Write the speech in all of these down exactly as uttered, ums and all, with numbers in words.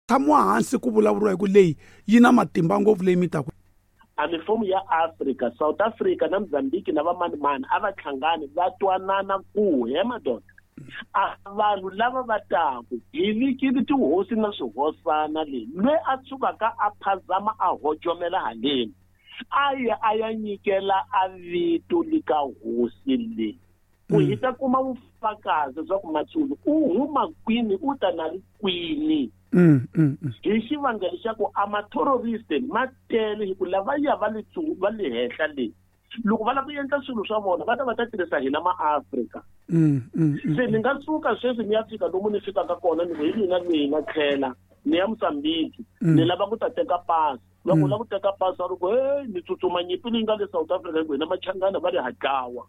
Tshamiwa hansi ku vulavuriwa hi ku leyi yi na matimba ngopfu leyi mi taku. A mifumo ya Africa, South Africa na Mozambique na vamanimani a va hlangani va twanana ku he madoda. A vanhu lava va taku hi vikile tihosi na swihosana leyi loyi a tshukaka a phazama a hojomela haleni a ya a ya nyikela a vito lika hosi leyi ku hi ta kuma vufakazi bya ku Matsulu u huma kwini u ta na ri kwini. Mm, mm, mm. Hi xivangelo xa ku a ma-terrorist ma tele hi ku lavaya va le va le henhla leyi loko va lava ku endla swilo swa vona va ta va ta tirhisa hina ma-Afrika. Mm, mm, mm. Se ni nga suka sweswi ni ya fika lomu ni fikaka kona ni ku hi mina leyi nga tlhela ni ya Mozambique ni lava ku ta teka pasi. Va ku lava ku teka pasi va ri ku hey ni tsutsuma nyimpi leyi nga le South Africa hi ku hina machangana va ri ha dlawa.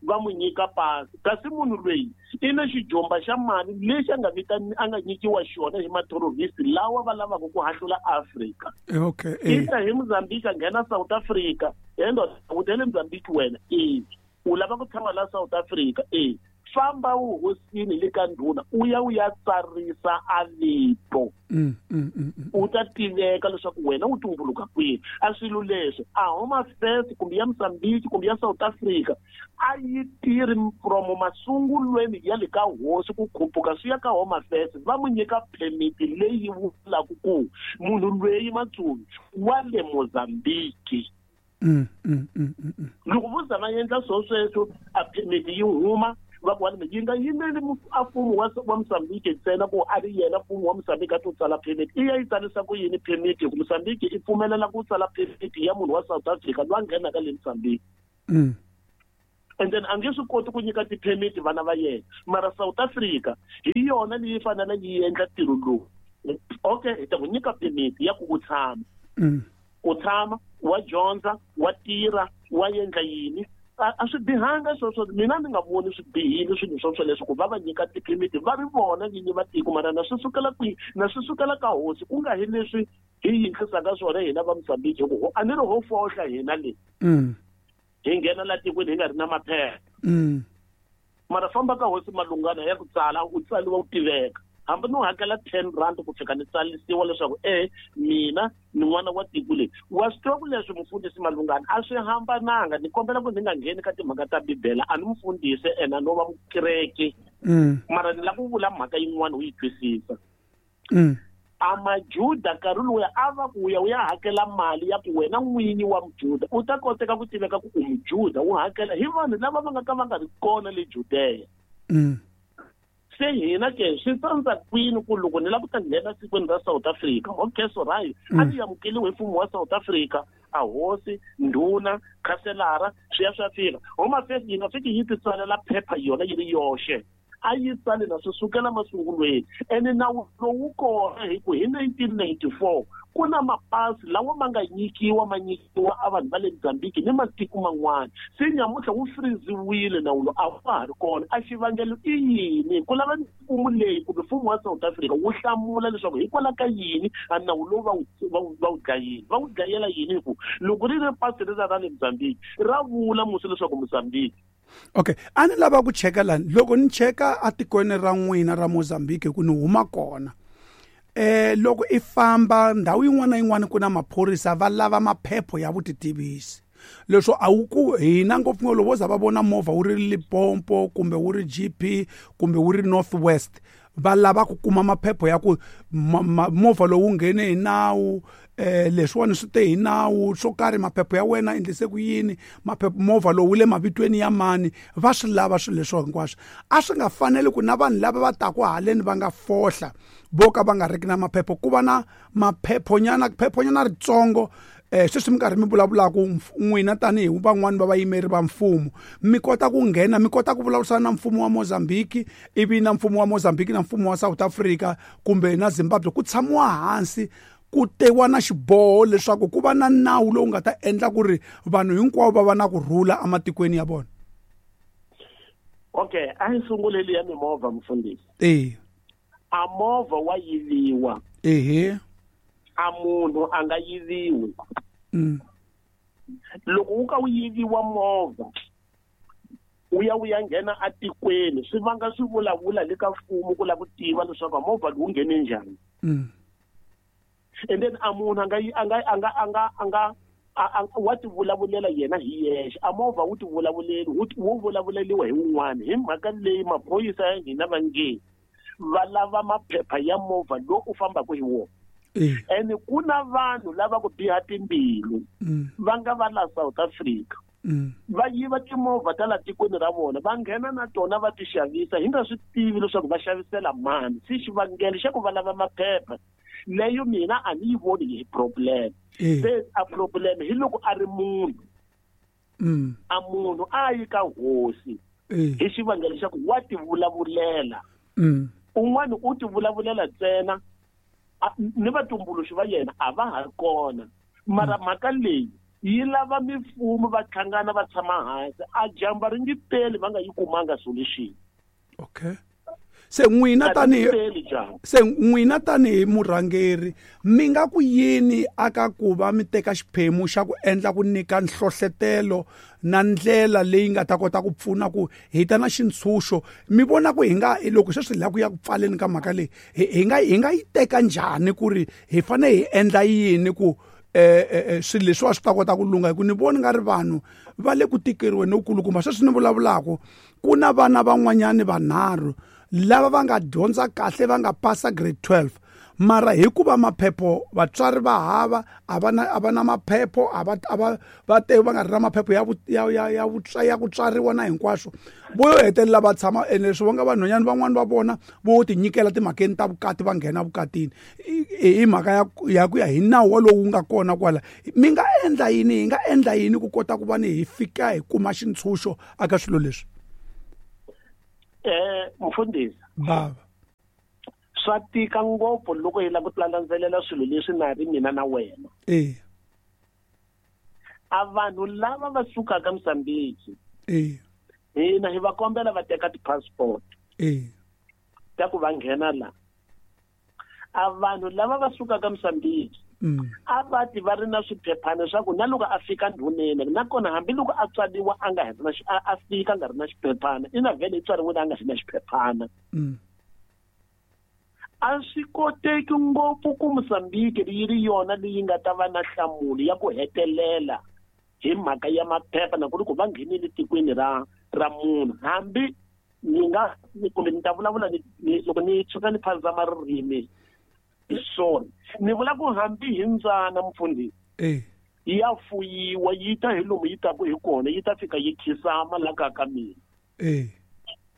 Va n'wi nyika pasi kasi munhu loyi i na xijomba xa mali lexi a nga vitani a nga nyikiwa xona hi ma-terrorist lawa va lavaka ku hahlula Afrika. Okay. I ta hi Mozambique a nghena South Africa he ndoda u tele Mozambique wena e u lava ku tshama la South Africa e famba uhosini le ka ndhuna u ya u ya tsarisa a vito. Mm, mm, mm, mm. U ta tiveka leswaku wena u tumbuluka kwihi. A swilo leswi a Home Affairs kumbe ya Mozambique kumbe ya South Africa a yi tirhi from masungulweni ya le ka hosi ku khuphuka swi ya ka Home Affairs va n'wi nyika permit leyi vulaka ku munhu loyi Matsulu wa le Mozambique. Mm, mm, mm, mm, mm. Loko vo za va endla swo sweswo a permit yi huma va ku wa yi nga yimeli a mfumo wa wa Mozambique ntsena ku a ri yena mfumo wa Mozambique a to tsala permit i ya yi tsarisa ku yini permit hi ku Mozambique i pfumelela ku tsala permit ya munhu wa South Africa loyi a nghenaka le Mozambique. Mm. And then a nge swi koti ku nyika ti-permit vana va yena mara South Africa hi yona leyi fanele yi endla ntirho lowu. Okay hi ta ku nyika permit ya ku u tshama. Mm. U tshama wa dyondza wa tirha wa endla yini a a swi bihanga sweswo mina ni nga voni swi bihile swilo swo swoleswo ku va va nyika ti-permit va ri vona vinyi va tiko mara na swi sukela kwihi na swi sukela ka hosi ku nga hi leswi hi yinhlisaka swona hina va Mozambique hi ku a ni ri ho fohla hina le. Mm. Hi nghena la tikweni hi nga ri na maphepha. Mm. Mara famba ka hosi Malungana ya ku tsala u tsaliwa u tiveka hambi no hakela ten rand ku fika ni tsarisiwa leswaku e mina ni n'wana wa tiko leyi. Wa swi tiva ku leswi mufundhisi Malungana a swi hambananga ni kombela ku ni nga ngheni ka timhaka ta Bibele a ni mufundhisi ene a no va mukereke. Mm. Mara ni lava ku vula mhaka yin'wana u yi twisisa. Mm. A majuda nkarhi lowuya a va ku ya u ya hakela mali ya ku wena n'winyi wa mujuda u ta koteka ku tiveka ku u mujuda u hakela hi vanhu lava va nga ka va nga ri kona le Judea. Mm. Se hina ke swi tsandza kwini ku loko ni lava ku ta nghena tikweni ra South Africa okay so right a ni amukeliwe hi mfumo wa South Africa a hosi ndhuna khaselara swi ya swi ya fika Home Affairs yi nga fiki yi ti tsalela phepha yona yi ri yoxe a yi tsali na swi sukela masungulweni ene nawu lowu kona hi ku hi nineteen ninety-four ku na mapasi lawa ma nga nyikiwa ma nyikiwa a vanhu va le Mozambique ni matiko man'wana se nyamuntlha wu friziwile nawu lowu a wa ha ri kona a xivangelo i yini ku lava mfumo leyi kumbe mfumo wa South Africa wu hlamula leswaku hikwalaho ka yini a nawu lowu va wu va wu va wu dlayile va wu dlayela yini hi ku loko ri ri pasi ri ra ra le Mozambique ra vula musi leswaku Mozambique. Okay a ni lava ku cheka lani loko ni cheka atikweni ra n'wina ra Mozambique ku ni huma kona eh loko i famba ndhawu yin'wana na yin'wana ku na maphorisa va lava maphepho ya vutitivisi leswo a wu ku hina ngopfungopfu loko vo za va vona movha wu ri Limpopo kumbe wu ri G P kumbe wu ri North West va lava ku kuma maphepho ya ku movha lowu nghene hi nawu eh leswiwani swi te hi nawu swo karhi maphepho ya wena endlise ku yini maphepho movha lowu wu le mavitweni ya mani va swi lava swilo leswo hinkwaswo a swi nga faneli ku na vanhu lava va taku haleni va nga fohla vo ka va nga riki na maphepho ku va na maphephonyana phephonyana ritsongo eh sweswi mi karhi mi vulavulaka n'wina tanihi van'wani va vayimeri va mfumo mi kota ku nghena mi kota ku vulavurisana na mfumo wa Mozambique ivi na mfumo wa Mozambique na mfumo wa South Africa kumbe na Zimbabwe ku tshamiwa hansi ku tewa na xiboho leswaku ku va na nawu lowu nga ta endla ku ri vanhu hinkwavo va va na ku rhula ematikweni ya vona. Okay a hi sunguleli ya mimovha mfundhisi. Eh a movha wa yiviwa. Ehe a munhu a nga yiviwi. Mm. Loko wu ka wu yiviwa movha u ya u ya nghena atikweni swi vanga swi vulavula le ka mfumo ku lava ku tiva leswaku movha lowu nghene njhani. Mm. And then a munhu a nga a nga a nga a nga a nga wa ti vulavulela yena hi yexe a movha wu ti vulavuleli wu vulavuleliwa hi wun'wana hi mhaka leyi maphorisa ya hina va nge va lava maphepha ya movha lowu u fambaka hi wona. And ku na vanhu lava ku biha timbilu va nga va la South Africa va yiva timovha ta la tikweni ra vona va nghena na tona va ti xavisa hi nga swi tivi leswaku va xavisela mani. Se xivangelo xa ku va lava maphepha leyo mina a ni yi voni hi problem. Se a problem hi loko a ri munhu a munhu a yi ka hosi hi xivangelo xa ku wa ti vulavulela. Un'wana u ti vulavulela ntsena ni vatumbuluxi va yena a va ha ri kona. Mara mhaka leyi yi lava mifumo va hlangana va tshama hansi a jamba ri nge peli va nga yi kumanga solution. Okay. Se n'wina tanihi se n'wina tanihi murhangeri mi nga ku yini aka ku va mi teka xiphemu xa ku endla ku nyika nhlohletelo na ndlela leyi nga ta kota ku pfuna ku hi ta na xintshunxo mi vona ku hi nga loko sweswi hi lava ku ya ku pfaleni ka mhaka leyi hi nga hi nga yi teka njhani ku ri hi fanele hi endla yini ku eh swilo leswi swi ta kota ku lungha hi ku ni voni nga ri vanhu va le ku tikeriweni lokulukumba sweswi ni vulavulaka ku na vana van'wanyani vanharhu lava va nga dyondza kahle va nga pasa grade twelve mara hikuva maphepho vatswari va hava a va na a va na maphepho a va a va va te va nga ri na maphepho ya ya ya ya ya ku tswariwa na hinkwaswo vo yo hetelela va tshama ene leswi va nga vanhwanyana van'wani va vona vo tinyikela timhakeni ta vukati va nghena vukatini hi mhaka ya ya ku ya hi nawu walowu wu nga kona kwala. Mi nga endla yini hi nga endla yini ku kota ku va ni hi fika hi kuma xintshunxo aka swilo leswi? Eh mfundhisi baba swa tika ngopfu loko hi lava ku landzelela swilo leswi na ri mina na wena. Eh a vanhu lava va sukaka Mozambique eh hina hi va kombela va teka ti-passport eh ta ku va nghena la. A vanhu lava va sukaka Mozambique a va ti va ri na swiphephana swa ku na loko a fika ndhuneni nakona hambiloko a tswariwa a nga ri na a fika a nga ri na xiphephana ina vhele i tswariwile a nga ri na xiphephana. A swi koteki ngopfu ku Mozambique yi ri yona leyi nga ta va na nhlamulo ya ku hetelela hi mhaka ya maphepha na ku ri ku va nghenile tikweni ra ra munhu. Hambi ni nga kumbe ni ta vulavula ni loko ni tshuka ni phandzama ririmi sorry ni vula ku hambi hi mbyana mfundhisi eh ya fuyiwa yi ta hi lomu yi taku hi kona yi ta fika yi khisama la ka ka mina eh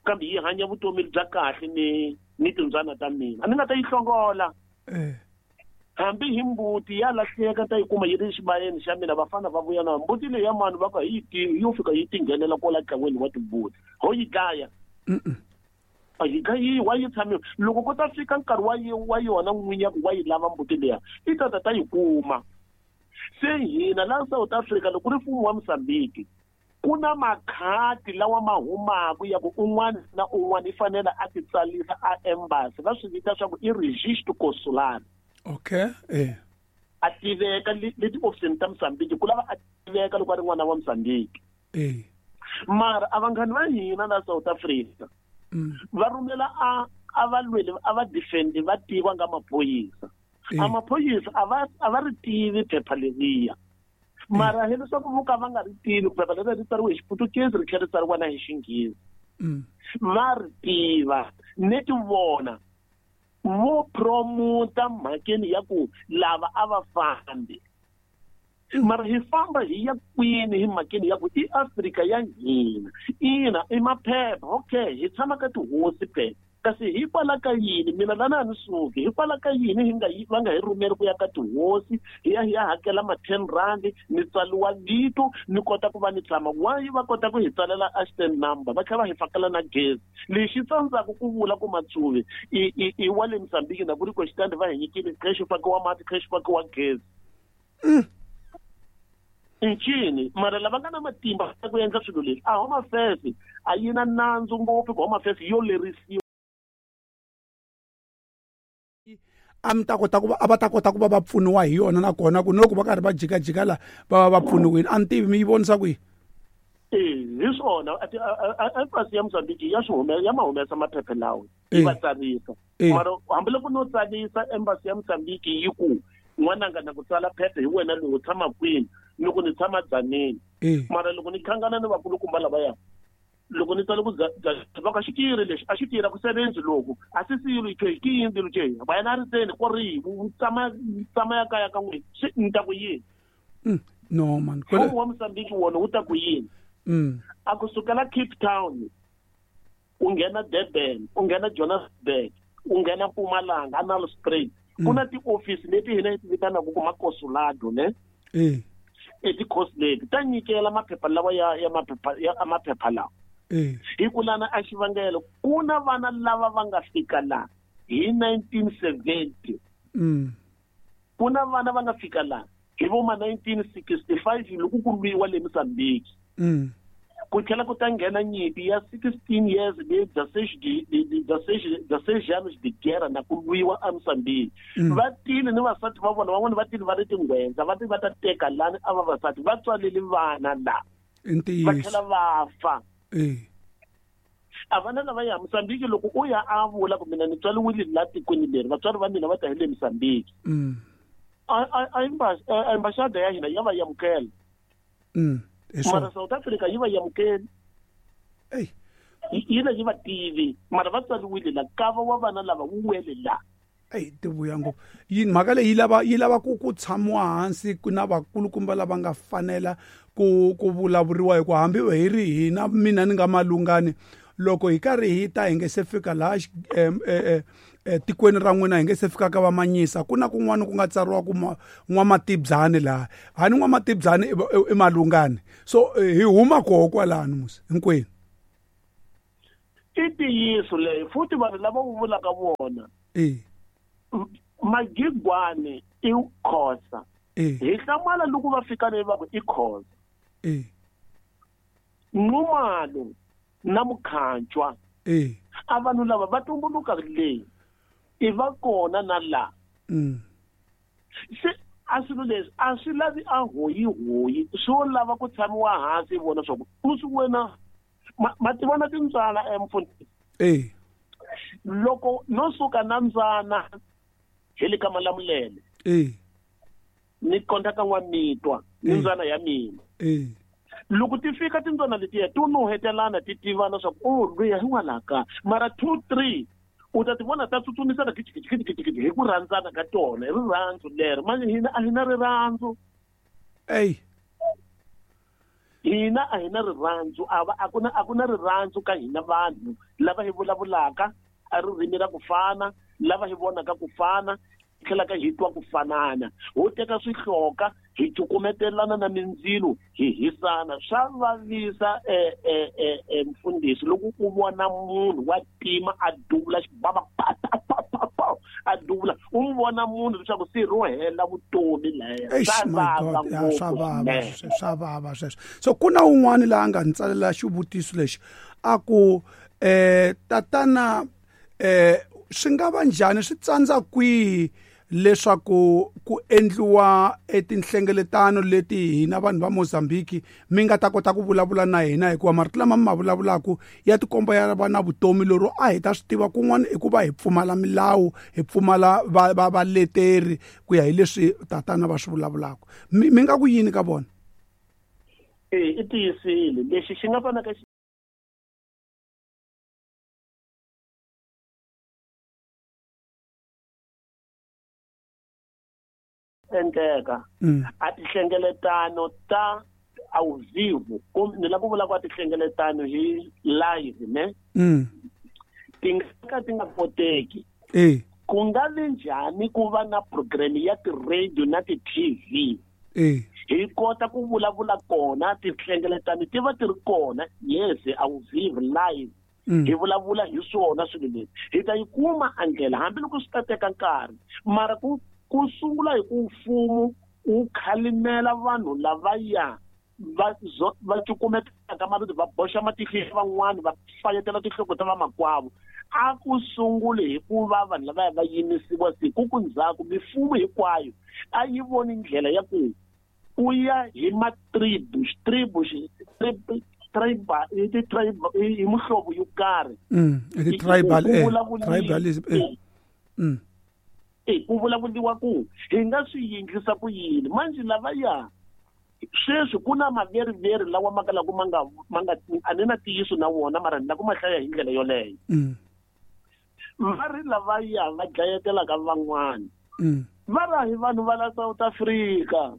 kambe yi hanya vutomi bya kahle ni ni timbyana ta mina a ni nga ta yi hlongola eh hambi hi mbuti ya lahleka ta yi kuma yi ri xibayeni xa mina vafana va vuya na mbuti leyi ya mani va ka hi yi tivi yo fika yi tinghenela kwala ntlangwini wa timbuti ho yi dlaya a yi dlayiwa yi tshamiwa loko ko ta fika nkarhi wa wa yona n'winyi ya ku wa yi lava mbuti leya i ta ta ta yi kuma. Se hina laha South Africa loko ku ri mfumo wa Mozambique ku na makhadi lawa ma humaka ya ku un'wana na un'wana i fanele a ti tsalisa a embassy va swi vita swa ku i registro consular. Okay eh a tiveka le tiofisini ta Mozambique ku lava a tiveka loko a ri n'wana wa Mozambique. Eh mara a vanghani va hina la South Africa va rhumela a a va lweli a va defend va tiviwa nga maphorisa. A maphorisa a va a va ri tivi phepha leriya mara hi leswaku vo ka va nga ri tivi phepha leri ri tsariwe hi Xiputukezi ri tlhela ri tsariwa na hi Xinghezi va ri tiva neti vona vo promota mhakeni ya ku lava a va fambi mara hi famba hi ya kwini hi mhakeni ya ku i Afrika ya hina ina i maphepha okay hi tshama ka tihosi phela kasi hikwalaho ka yini mina lana a ni suki hikwalaho ka yini hi nga va nga hi rhumeri ku ya ka tihosi hi ya hi ya hakela ma ten rand ni tsariwa vito ni kota ku va ni tshama why va kota ku hi tsalela a stand number va tlhela va hi fakela na gezi lexi tsandzaka ku vula ku Matsuvi i i i wa le Mozambique na ku ri ku xitandi va hi nyikile khe xi fakiwa mati khe xi fakiwa gezi ncini mara lava nga na matimba ya ku endla swilo leswi a Home Affairs a yi na nandzu ngopfu ku Home Affairs yo lerisiwa a mi ta kota ku va a va ta kota ku va va pfuniwa hi yona nakona ku loko va karhi va jikajika la va va va pfuniwile a ni tivi mi yi vonisa ku yini. Eh hi swona embassy ya Mozambique ya swi humesa ya ma humesa maphepha lawa yi va tsarisa mara hambiloko no tsarisa embassy ya Mozambique yi ku N'wananga na ku tsala phepha hi wena lowu u tshama kwini ni ku ni tshama Dzaneni. Mara loko ni khangana ni vakulukumba lavaya loko ni tsale ku va ka xikiri lexi a xi tirha ku sevenzi loko a si silo ke ki yini lo ke va yena a ri tseni ko ri tshama tshama ya kaya ka n'wina swi ni ta ku yini. No man mfumo wa Mozambique wona wu ta ku yini. A ku sukela Cape Town u nghena Durban u nghena Johannesburg u nghena Mpumalanga Nelspruit ku na tiofisi leti hina hi ti vitanaka ku makosulado ne eh e ti-consulate ta nyikela maphepha lawa ya ya maphepha ya maphepha lawa. Eh hi ku lana a xivangelo ku na vana lava va nga fika la hi nineteen seventy. Mm ku na vana va nga fika la hi vo ma nineteen sixty-five loko ku lwiwa le Mozambique. Mm ku tlhela ku ta nghena nyimpi ya sixteen years leyi dezesseis anos de guerra na ku lwiwa eMozambique. Va tile ni vasati va vona van'wani va tile va ri tinghwenza va ti va ta teka lani a vavasati va tswalele vana la va tlhela va fa. A vana lava ya Mozambique loko u ya a vula ku mina ni tswaliwile la tikweni leri vatswari va mina va ta hi le Mozambique. A ambasada ya hina ya va amukela. Mara South Africa yi va amukeli. Ey yi la yi va tivi mara va tswariwile la kava wa vana lava wu wele la. Ey ti vuya ngopfu yini mhaka leyi yi lava yi lava ku ku tshamiwa hansi ku na vakulukumba lava nga fanela ku ku vulavuriwa hi ku hambi hi ri hina mina ni nga malungani loko hi karhi hi ta hi nge se fika laha tikweni ra n'wina hi nge se fika ka vamanyisa ku na kun'wana ku nga tsariwa ku n'wamatibyani laha hani n'wamatibyani i malungani so hi huma koho kwalano musi hinkwenu. I ntiyiso leyi futhi vanhu lava u vulaka vona eh Magigwane i Khosa. Hi hlamala loko va fika leyi va ku i Khosa. Eh Nxumalo na Mukhanjwa eh a vanhu lava va tumbuluka leyi i va kona na la. Mm se a swilo leswi a swi lavi a hoyihoyi swo lava ku tshamiwa hansi vona swa ku u swi wena ma ti vona tintswala emfundhisi. Eh loko no suka na mbyana hi le ka Malamulele eh ni konta ka n'wamitwa ni mbyana ya mina. Eh loko ti fika tintswana letiya ti nuhetelana ti tivana swa ku o luya hin'walaka mara two three u ta ti vona ta tsutsumisana kitikitikitikiti hi ku rhandzana ka tona hi rirhandzu leri manje hina a hi na rirhandzu. Ey hina a hi na rirhandzu a va a ku na a ku na rirhandzu ka hina vanhu lava hi vulavulaka a ririmi ra ku fana lava hi vonaka ku fana tlhelaka hi twa ku fanana ho teka swihloka hi cukumetelana na mindzilo hi hisana swa vavisa eh mfundhisi loko u vona munhu wa tima a duvula xibaba pa pa pa pa a duvula u n'wi vona munhu leswaku se ro hela vutomi laya swa vava swa vava swa vava sweswo. So ku na un'wana laha a nga ni tsalela xivutiso lexi a ku eh tatana eh swi nga va njhani swi tsandza kwihi leswaku ku endliwa etinhlengeletano leti hina vanhu va Mozambique mi nga ta kota ku vulavula na hina hikuva marito lama mi ma vulavulaka ya tikomba ya va na vutomi lero a hi ta swi tiva kun'wana i ku va hi pfumala milawu hi pfumala va va valeteri ku ya hi leswi tatana va swi vulavulaka mi mi nga ku yini ka vona. Eh i tiyisile lexi xi nga fanaka endleka a tihlengeletano ta ao vivo ni lava ku vula ku a tihlengeletano hi live ne ti nga ka ti nga koteki. Eh ku nga vi njhani ku va na program ya ti-radio na ti-T V eh hi kota ku vulavula kona tihlengeletano ti va ti ri kona yes ao vivo live hi vulavula hi swona swilo leswi hi ta yi kuma a ndlela hambiloko swi ta teka nkarhi mara ku ku sungula hi ku mfumo wu khalimela vanhu lavaya va va cukumetaka marito va boxa matihlo ya van'wani va fayetela tinhloko ta vamakwavo a ku sunguli hi ku va vanhu lavaya va yimisiwa siku ku ndzhaku mifumo hinkwayo a yi voni ndlela ya ku u ya hi matribu tribu tribal i tribal i muhlovo yo karhi mm i tribal eh tribalism eh mm E ku vulavuriwa ku hi nga swi yinglisa ku yini manje lavaya sweswi ku na maveriveri lawa ma kalaka ma nga ma nga a ni na ntiyiso na wona mara ni la ku ma hlaya hi ndlela yoleyo. Va ri lavaya va dlayetelaka van'wana va ra hi vanhu va la South Africa,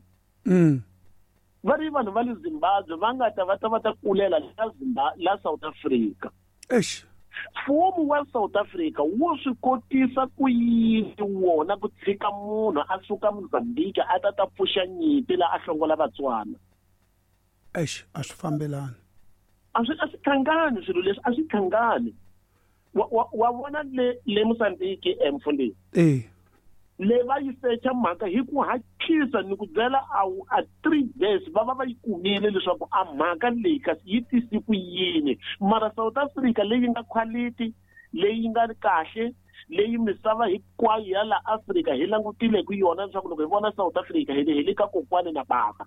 va ri vanhu va le Zimbabwe va nga ta va ta va ta kulela la Zimbabwe la South Africa. Eish. Mfumo wa South Africa wu swi kotisa ku yini wona ku tshika munhu a suka Mozambique a ta ta pfuxa nyimpi la a hlongola Vatswana? Eish, a swi fambelani. A swi a swi hlangani swilo leswi, a swi hlangani. Wa wa wa vona le le Mozambique emfundhisi. Eh. Le va yi secha mhaka hi ku hatlisa ni ku byela a a three days va va va yi kumile leswaku a mhaka leyi kasi yi tisi ku yini. Mara South Africa leyi nga quality, leyi nga kahle, leyi misava hinkwayo ya la Afrika hi langutile ku yona leswaku loko hi vona South Africa hi le hi le ka kokwani na baba.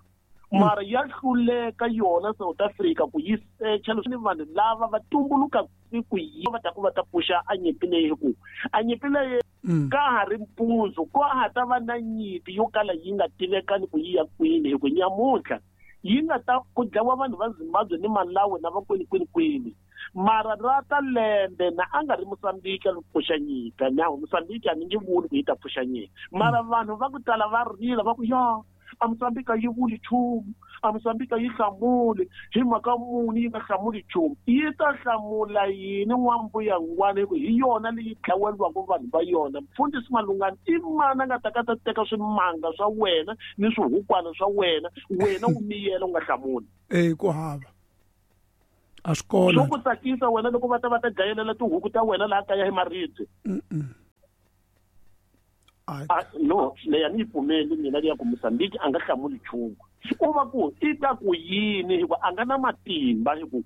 Mara ya hluleka yona South Africa ku yi secha leswi vanhu lava va tumbuluka ku yi va ta ku va ta pfuxa a nyimpi leyi ku a nyimpi leyi ka ha ri mpundzu ko ha ta va na nyimpi yo kala yi nga tivekani ku yi ya kwini hi ku nyamuntlha yi nga ta ku dlawa vanhu va Zimbabwe ni Malawi na va kwini kwini kwini. Mara ra ta lembe na a nga ri Mozambique a pfuxa nyimpi na Mozambique a ni nge vuli ku yi ta pfuxa nyimpi mara vanhu va ku tala va rila va ku ya a Mozambique yi vuli nchumu, a Mozambique yi hlamuli hi mhaka muni yi nga hlamuli nchumu, yi ta hlamula yini n'wambuya ngwana hi ku hi yona leyi dlaweliwaka vanhu va yona. Mfundhisi Malungani i mani a nga ta ka ta teka swimanga swa wena ni swihukwana swa wena wena u miyela u nga hlamuli? E ku hava a swi kona swo ku tsakisa wena loko va ta va ta dlayelela tihuku ta wena laha kaya hi maribye. A no leyi a ni yi pfumeli mina leya ku Mozambique a nga hlamuli nchumu. U va ku i ta ku yini hikuva a nga na matimba hi ku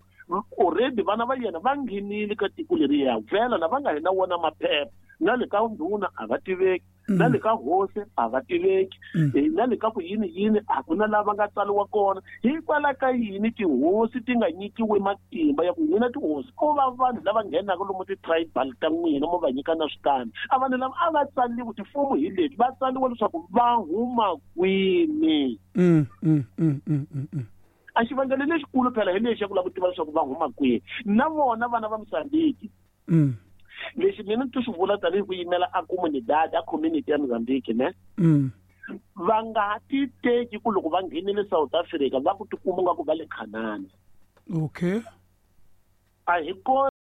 already vana va yena va nghenile ka tiko leriya vhela na va nga hi na wona maphepha na le ka ndhuna a va tiveki, na le ka hosi a va tiveki, na le ka ku yini yini a ku na lava nga tsariwa kona. Hikwalaho ka yini tihosi ti nga nyikiwi matimba ya ku n'wina tihosi ko va vanhu lava nghenaka lomu ti-tribal ta n'wina mo va nyika na switandi? A vanhu lava a va tsariwi tifomo hi leti va tsariwa leswaku va huma kwini. A xivangelo lexikulu phela hi lexi ya ku lava ku tiva leswaku va huma kwini na vona vana va Mozambique. Lexi mina ni swi vula tanihi ku yimela a comunidad a community ya Mozambique ne va nga ti teki ku loko va nghenile South Africa va ku tikuma nga ku va le Canaan. Okay. A hi kona.